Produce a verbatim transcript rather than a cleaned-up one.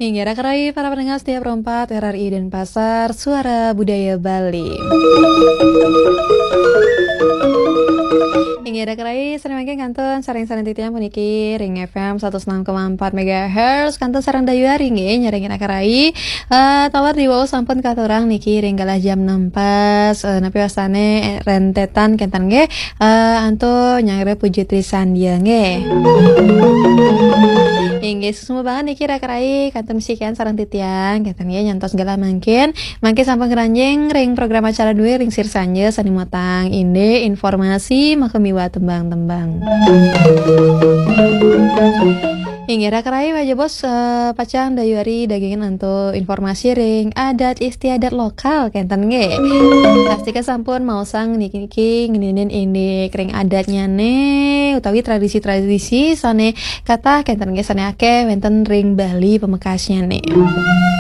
Inggih, raka rai para pendengar setia Pro empat R R I Denpasar, Suara Budaya Bali. Inggih, raka rai, sareng mangkin kantun sareng-sareng titiang puniki ring F M satus enam koma empat megahertz, kantun sareng dayuari nggih, nyarengin raka rai. Eh, taler diwau sampun katurang niki ring galah jam enam pas, eh, napi wastane, eh, rentetan kenten nggih. Eh, antuk nyanggra puji trisandia nggih. Inggih, suksma banget niki raka rai, kantun masikian sareng titiang, kenten nggih nyantos galah mangkin. Mangkin sampun ngranjing ring program acara duwe ring sir sanja sane matang indik informasi maka miwah tembang-tembang. Inggih raka rai, wajah bos, eh, pacang dayuari dagingan antuk informasi ring adat istiadat lokal kenten nggih. Pastika sampun maosang niki ngeninin indik ring adatnyane utawi tradisi-tradisi sane katah kenten nggih, sane akeh wenten ring Bali pamekasnyane.